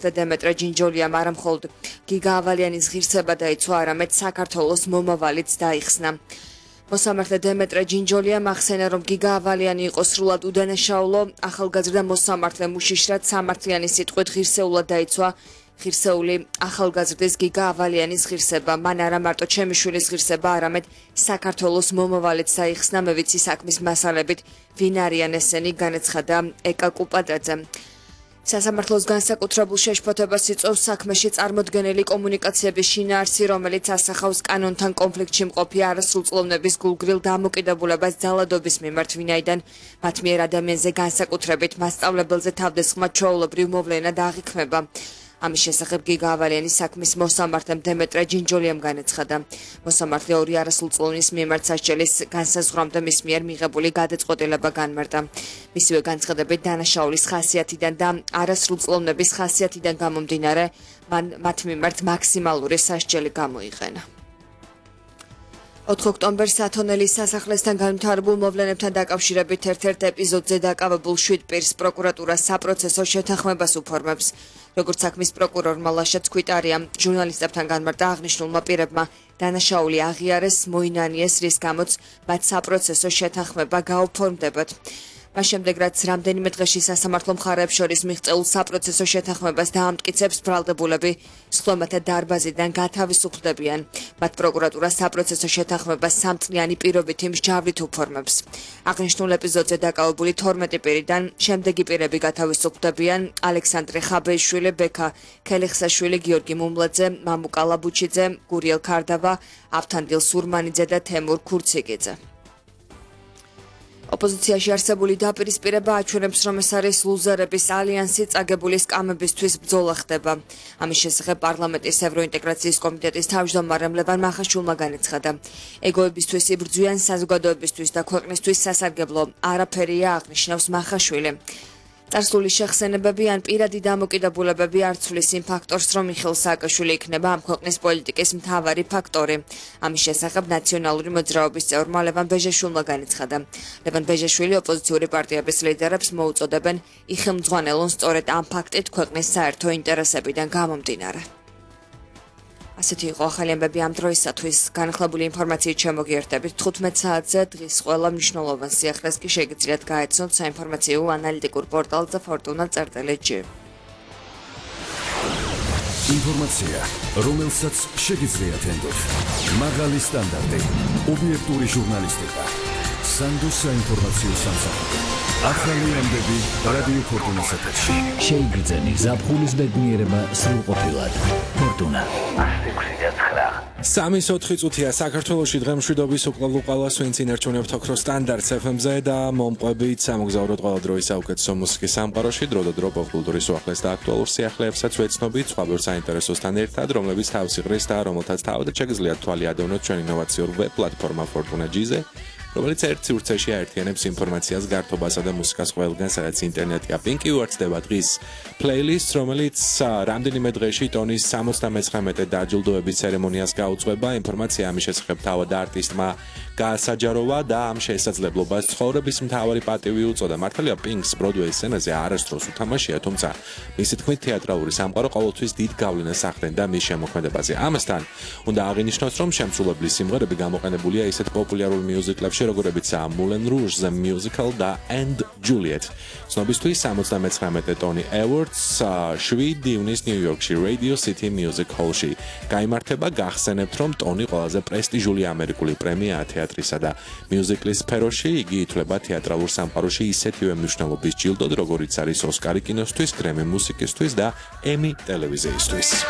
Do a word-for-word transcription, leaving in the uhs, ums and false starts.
მოსამართლე დემეტრე ჯინჯოლიამ არა მხოლოდ გიგა ავალიანის ღირსება დაიცვა, არამედ საქართველოს მომავალიც დაიხსნა. მოსამართლე დემეტრე ჯინჯოლიამ ახსენა, რომ გიგა ავალიანი იყო სრულად უდანაშაულო, ახალგაზრდა მოსამართლე მუშიშრად სამართლიანი სიტყვით ღირსეულად დაიცვა ღირსეული ახალგაზრდის გიგა ავალიანის ღირსება. მან არა მარტო ჩემი შვილის ღირსება, არამედ საქართველოს მომავალიც დაიხსნა. მე ვიცი საქმის მასალებით ვინ არიან ესენი, განაცხადა ეკა კუპადაძე. სასამართლოს განსაკუთრებულ შეშფოთებას იწვევს საქმეში წარმოდგენილი კომუნიკაციების შინაარსი, რომელიც ასახავს კანონთან კონფლიქტში მყოფი არასრულწლოვნების გულგრილ დამოკიდებულებას ძალადობის მიმართ, ვინაიდან მათ მიერ ადამიანზე განსაკუთრებით მასწავლებელზე თავდასხმა ჩვეულებრივ მოვლენა დააღიქმება. ამის შესახებ გიგა ავალიანის საქმის მოსამართლემ დემეტრე ჯინჯოლიამ განაცხადა. მოსამართლე ორი არასრულწლოვნის მიმართ სასჯელის განსაზღვრამდე მის მიერ მიღებული გადაწყვეტილება განმარტა. მისივე განცხადებით დანაშაულის ხასიათიდან და არასრულწლოვნების ხასიათიდან გამომდინარე, მან მათ მიმართ მაქსიმალური სასჯელი გამოიყენა. ოთხ ოქტომბერს ათონელის სასახლესთან განვითარებულ მოვლენებთან დაკავშირებით ერთ-ერთ ეპიზოდზე დაკავებულ შვიდ პირს პროკურატურა საპროცესო შეთანხმებას უფორმებს. როგორც საქმის პროკურორმა ლაშა ცქვიტარია ჟურნალისტებთან განმარტა, აღნიშნულმა პირებმა დანაშაული აღიარეს, მოინანიეს, რის გამოც მათ საპროცესო შეთანხმება გაუფორმდებათ. მას შემდეგ, რაც რამდენიმე დღეში სასამართლო მხარეებს შორის მიღწეულ საპროცესო შეთანხმებას დაამტკიცებს, ბრალდებულები სხდომათა დარბაზიდან გათავისუფლდებიან. მათ პროკურატურა საპროცესო შეთანხმებას სამწლიანი პირობითი მსჯავრით უფორმებს. აღნიშნულ ეპიზოდზე დაკავებული თორმეტი პირიდან შემდეგი პირები გათავისუფლდებიან: ალექსანდრე ხაბეიშვილი, ბექა ქელიხსაშვილი, გიორგი მუმლაძე, მამუკა ლაბუჩიძე, გურიელ ქარდავა, ავთანდილ სურმანიძე და თემურ ქურციგიძე. ოპოზიციაში არსებული დაპირისპირება აჩვენებს, რომ ეს არის ლუზერების ალიანსი, წაგებული სკამებისთვის ბრძოლა ხდება. ამის შესახებ პარლამენტის ევროინტეგრაციის კომიტეტის თავმჯდომარემ ლევან მახაშვილმა განაცხადა. ეგოებისთვის იბრძვიან, საზოგადოებისთვის და ქვეყნისთვის სასარგებლო არაფერია, აღნიშნავს მახაშვილი. წარსული შეხსენებები ან პირადი დამოკიდებულებები არ ცვლის იმ ფაქტორს, რომ მიხეილ სააკაშვილი იქნება ამ ქვეყნის პოლიტიკის მთავარი ფაქტორი. ამის შესახებ ნაციონალური მოძრაობის წევრმა ლევან ბეჟეშვილმა განაცხადა. ლევან ბეჟეშვილი ოპოზიციური პარტიების ლიდერებს მოუწოდებენ იხელმძღვანელონ სწორედ ამ ფაქტით ქვეყნის საერთო ინტერესებიდან გამომდინარე. ასეთი იყო ახალი ამბები ამ დროისათვის. განახლებული ინფორმაციით შემოგიერთებით თხუთმეტ საათზე. დღის ყველა მნიშვნელოვან სიახლეს კი შეგიძლიათ გაეცნოთ საინფორმაციო ანალიტიკურ პორტალზე ფორტუნა წერტილი ჯი. ინფორმაცია, რომელსაც შეგიძლიათ ენდოთ. მაღალი სტანდარტი, ობიექტური ჟურნალისტიკა, სანდო საინფორმაციო სამსახური. ახალი ამბები რადიო ფორტუნას ეთერში. შეიგრძენი ზაფხულის ბედნიერება სრულყოფილად. ფორტუნა. სამის ოთხი წუთია საქართველოში დღემშვიდობის უკვლავ-უკვალას ვინც ინერჩუნებთ ოქროს სტანდარტს ეფ ემ-ზე და მომყვებით სამოგზაუროთ ყველა დროის საუკეთესო მუსიკის სამყაროში, დრო და დრო პოპკულტურის უახლეს და აქტუალურ სიახლეებსაც ვეცნობით სხვადასხვა საინტერესოსთან ერთად, რომლებიც თავს იღრის და რომელთაც თავად შეგიძლიათ თვალი ადევნოთ ჩვენ ინოვაციურ ვებ პლატფორმა ფორტუნა ჯი-ზე, რომელიც ერთ სივრცეში აერთიანებს ინფორმაციას, გართობასა და მუსიკას ყველგან, სადაც ინტერნეტია. Pinky უერთდება დღის პლეილისტს, რომელიც რამდენიმე დღეში ტონის სამოცდამეცხრამეტე დაჯილდოების ცერემონიას გაუძღვება. ინფორმაცია ამის შესახებ თავად არტისტმა გაასაჯაროვა და ამ შესაძლებლობას ცხოვრების მთავარი პატივი უწოდა. მართალია Pink's Broadway სცენაზე არასდროს უთამაშია, თუმცა მისი თქმით თეატრალური სამყარო ყოველთვის დიდ გავლენას ახდენდა მის შემოქმედებაზე. ამასთან უნდა აღინიშნოს, რომ შემსრულებლის სიმღერები გამოყენებულია ისეთ პოპულარულ მიუზიკლებში, როგორებიცაა Moulin Rouge, The Musical და And Juliet. ცნობისთვის სამოცდამეცხრამეტე ტონი Awards შვიდი ივნის ნიუ-იორკში Radio City Music Hall-ში გაიმართება. გახსენებთ, რომ ტონი ყველაზე პრესტიჟული ამერიკული პრემიაა თეატრისა და მიუზიკლის სფეროში. იგი ითვლება თეატრალურ სამყაროში ისეთივე მნიშვნელობის ჯილდოდ, როგორიც არის ოსკარი კინოსთვის, გრემი მუსიკისთვის და ემი ტელევიზიისთვის.